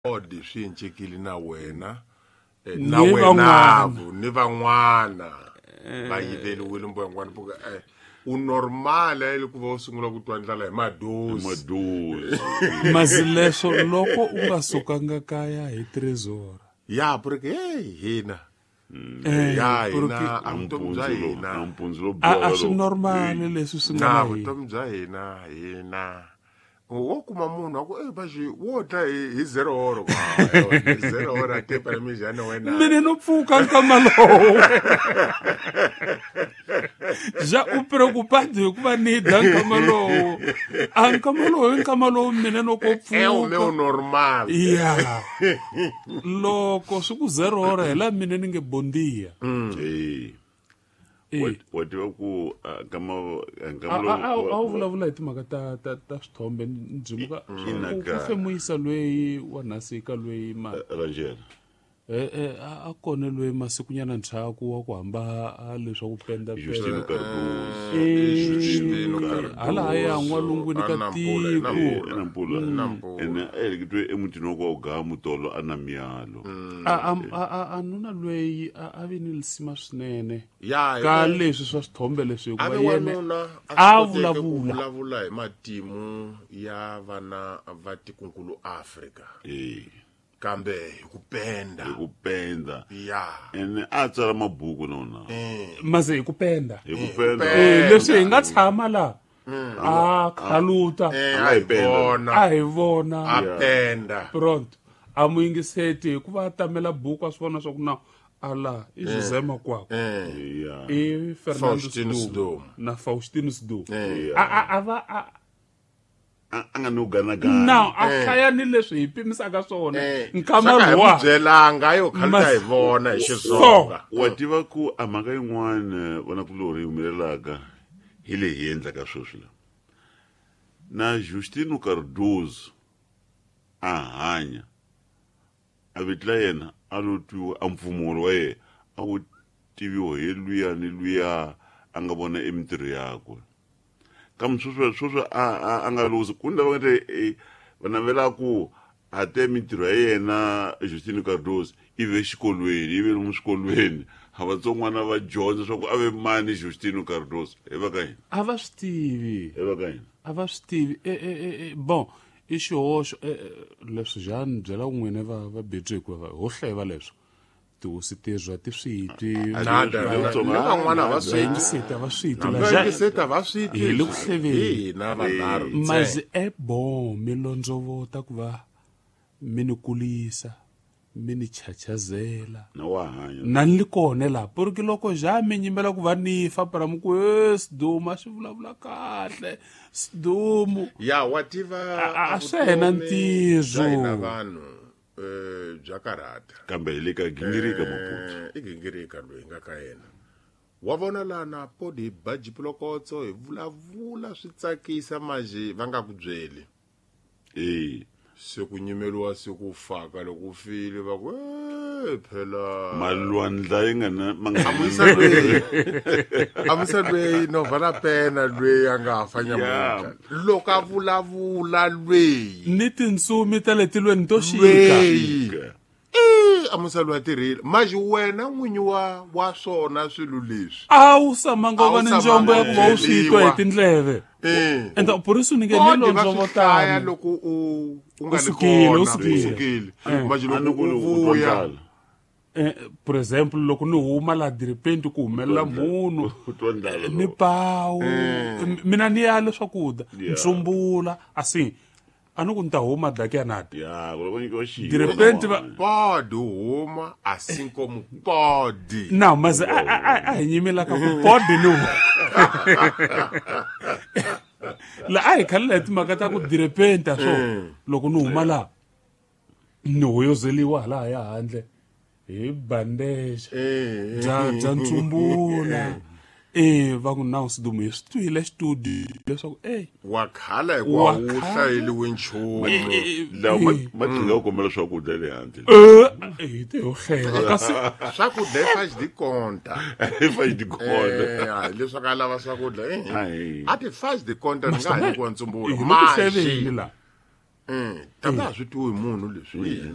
Odi swi encekile na wena Ni na wena van'wana. ni van'wana va yiveliwile mbuyangwana puka u normal le ku va u sungula ku twa ndlala hi madosi. Madosi. Masi leswo loko u nga sukanga kaya hi trezora. Ya porque hey hina. Ya hina a vutomi bya hina. A mpundzu lo A swi normal leswi swi nga Na na hina. vutomi bya hina hina. Wo kuma munhu a ku eh baji wo dla hi 0 horo. Hi 0 horo a te para mijana wena. Mina no pfuka nkama lowo. Ja u preocupado hikuva ni dya nkama lowo. A nkama lowo i nkama lowu mina no ko É o meu pfuka. normal. Ya. Loko swi ku 0 hora hi laha mina ni nge bondia. Eh. Eh. Wa tiva ku nkama nkama A a wu vulavula hi timhaka ta swithombe ndzimuka Ina ku ka. femuyisa loyi wa nhasika loyi ma Rangel. a kona loyi masikunyana ndzhaku wa ku hamba a leswa ku penda Justino Cardoso. Justino Cardoso. hala haya n'walungwini ka A Nampula, tiko Nampula. Nampula. Nampula. Ene a heleketiwe emutini wa kwa Ugamu tolo a na miyalo. A nuna loyi a vi ni lisima swinene Ya ka leswi swa swithombe leswi a hikuva ve yena wanuna a a swi koteke ku vulavula. vulavula hi matimu ya vana va tikunkulu Afrika Eh. kambe hi ku penda. Hi ku penda. Ya. Ene a tsala mabuku nona. mase hi ku penda Hi ku penda. Leswi hi nga tshama la a khaluta Eh, A nga a hi hi penda. vona. a hi vona A penda. pronto a mu yingiseti hikuva a tamela buku a swi vona swa ku na ala i José Makwakwa Ya. i Fernando Faustino Sdum Sdum. na Faustino Sdum Yeah. a va a A nga no ganagana. na a hlaya ni leswi hi pimisaka swona nkama Swa ka hi luwa mu byelanga yo khaluta Mas- hi vona hi Xitsonga. Wa tiva ku a mhaka yin'wana vanakulorhi yi humelelaka hi leyi hi endlaka sweswi la. Na Justino Cardoso a hanya a vito la yena a lo twiwa a mpfumawulo wa yena a wu tiviwa hi luya ni luya a nga vona emintirho yakwe. Kambe sweswo sweswo a nga luzi ku ni lava nga te va navela ku a te mintirho ya yena Justino Cardoso i ve xikolweni i ve lomu swikolweni a vatsongwana va dyondza swa ku a ve mani Justino Cardoso hi va ka yini a va swi tivi hi va ka yini a va swi tivi bon i xihoxo leswi ja ni byela ku n'wina va betwi hikuva ho hleva leswo tihosi tezwa ti swi twi Nada. Ni Ni van'wana va swi twi. vayingiseti a va swi twi la Va ja yingiseti a va swi twi. Hi le ku hleveni. Hi hina vanharhu ntsena. mazi e bon mi londzovota ku va mi ni kulisa mi ni chachazela na wa hanya na ni li kona laha porque loko ja mi nyimbela ku va ni fa para mi ku e Sdum a swi vulavula kahle Sdum Ya wa tiva A swi hena vutomi ntirho. bya hina vanhu bya karhata. kambe hi le ka gingirika Maputo I gingirika loyi hi nga ka yena. Wa vona lana podi hi ba jipulokotso hi vulavula swi tsakisa manje va nga ku byeli. eh Se ku nyimeliwa se ku faka loko u file va ku eh phela. malwandla yi nga na ma nga Amusa loyi. Amusa loyi no vana pena loyi a nga fa nyamuntlha. Loko a vulavula loyi. ni tintsumi ta le tilweni to xika Loyi. Eh, amusa loyi a tirhile. Manje wena n'winyi wa swona swilo leswi. a wu samanga u A va wu ni njombo ya ku va u swi twa hi byeliwa. tindleve Eh. ende purisi ni nge ni Kodi va swi hlaya londzovotana loko u nga U li sukile, u kona, sukile. u sukile. Manje A ni loko ku u u twa vuya ndlala. For example loko ni huma la diripenti ku humelela munhu U twa ndlala ni loko. pawu mina ni ya leswakudya Yeah. ntsumbula asi a ni ku ni ta huma dakiyanati ya ku loko nyikiwa xinkwa Diripenti va- podi huma assim como pode. na maze a hi nyimelaka ku podi ni huma la a hi khalela hi timhaka ta ku direpenta swo loko ni huma laha ni hoyozeliwa halahaya handle hi bandeja bya ntsumbula va ku na Sdum hi swi twile studio leswaku e Wa khala hikuva Wa wu khala. hlayeliwe nchumu. lawa ma tlhela u kombela swakudya le handle hi te ho hleva kasi Swakudya i faz de conta. fa di kona Eh, leswaku a lava swakudya. Ayi. A ti faz de conta ni nga ha nyikiwa ntsumbula. hi le ku hleveni Maji. la Tata a swi tiwi hi munhu leswi.